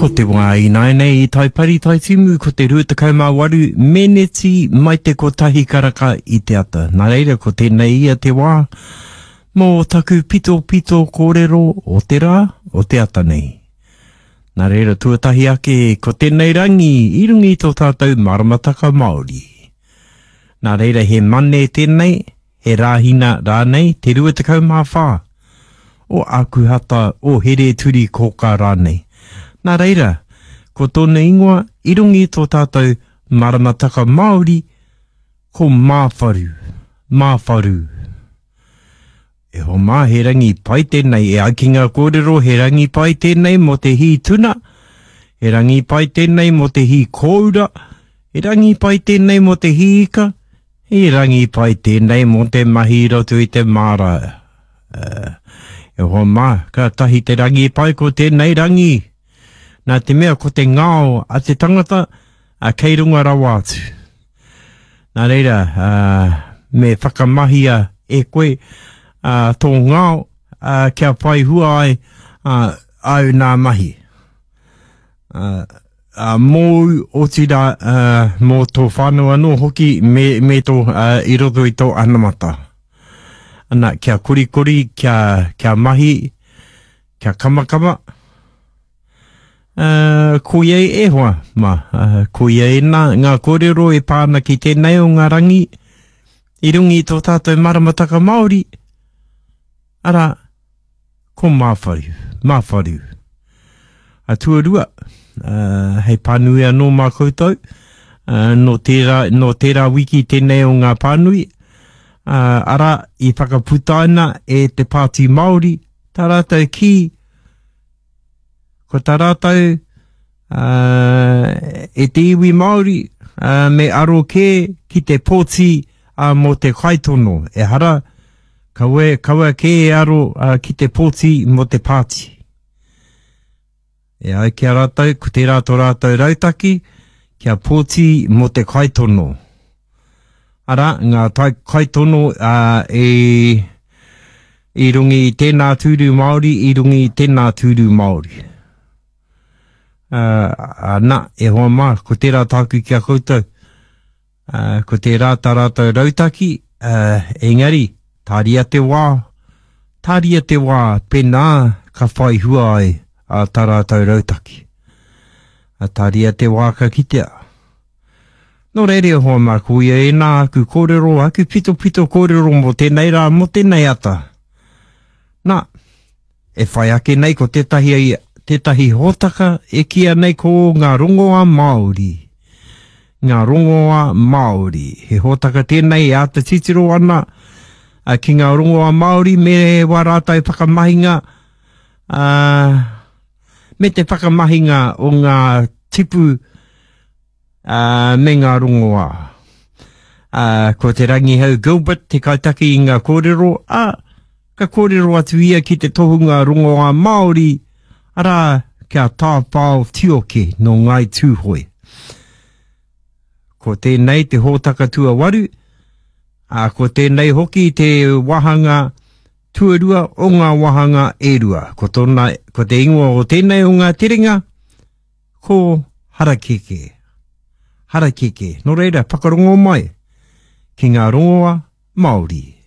Ko te wā ināianei i Taipari Taitimu ko te 28 meneti mai te kotahi karaka i te ata. Nā reira ko tēnei ia te wā mō taku pitopito kōrero o te rā, o te ata nei. Nā reira tuatahi ake ko tēnei rangi i runga i tō tātou maramataka Māori. Nā reira he mane tēnei, he Rāhina rānei, te 24 o Ākuhata, o Here-turi-kōkā rānei. Nā reira, ko tōna ingoa i runga i tō tātou maramataka Māori, ko Māwharu, Māwharu. E hoa mā, he rangi pai tēnei, e ai ki ngā kōrero, he rangi pai tēnei mō te hī tuna, he rangi pai tēnei mō te hī kōura, he rangi pai tēnei mō te hī ika, He rangi pai tēnei mō te mahi i roto i te māra. E hoa mā, kātahi te rangi pai ko tēnei rangi. Nā te mea ko te ngao a te tangata, a kei runga rawa atu. Nā reira, a, me whakamahia e koe a, tō ngao a, kia whai hua ai a, āu nā mahi. A, ā, mōu, otirā, ā, mō tō whānau anō hoki me, me tō, ā, i roto i tō anamata. Ana, kia korikori, kia, kia mahi, kia kamakama. Ā, koia e hoa, mā, ā, koia ēnā ngā kōrero e pā ana ki tēnei o ngā rangi i runga i tō tātou maramataka Māori, arā, Ko Māwharu, Māwharu. A tuarua, uh, hei pānui anō mā koutou, uh, nō tērā, nō tērā wiki tēnei o ngā pānui, uh, arā, i whakaputaina e te Pāti Māori, tā rātou kī, ko tā rātou uh, e te iwi Māori, uh, me aro kē ki te pōti uh, mō te kaitono. Ehara, kaua, kaua kē e aro uh, ki te pōti mō te pāti. E ai ki a rātou, ko tērā tō rātou rautaki, kia pōti mō te kaitono. Arā, ngā tai, kaitono uh, e, i runga i tēnā tūru Māori, i runga i tēnā tūru Māori. Uh, na, e hoa mā, ko tērā tāku ki a koutou. Uh, ko tērā tā rātou rautaki, uh, engari, tāria te wā, tāria te wā, pēnā ka whai hua ai a tā rātou rautaki. Uh, tāria te wā ka kitea. Nō reira e hoa mā, ko ia ēnā aku kōrero, aku pitopito kōrero mō tēnei rā, mō tēnei ata. Nā, E whai ake nei ko tētahi, tētahi hōtaka e kīia nei ko Ngā Rongoā Māori. Ngā Rongoā Māori. He hōtaka tēnei e āta titiro ana ki ngā rongoā Māori me wā rātou whakamahinga, ā, me te whakamahinga o ngā tipu ā, me ngā rongoā. Ā, ko Te Rangihau Gilbert te kaitaki i ngā kōrero, ā, ka kōrero atu ia ki te tohunga rongoā Māori, arā, ki a Tāwhao Tioke nō Ngāi Tūhoe. Ko tēnei te hōtaka tuawaru, ā, ko tēnei hoki te wāhanga tuarua o ngā wāhanga e rua. Ko tōna, ko te ingoa o tēnei o ngā terenga, Ko Harakeke. Harakeke. Nō reira, whakarongo mai ki ngā rongoa Māori.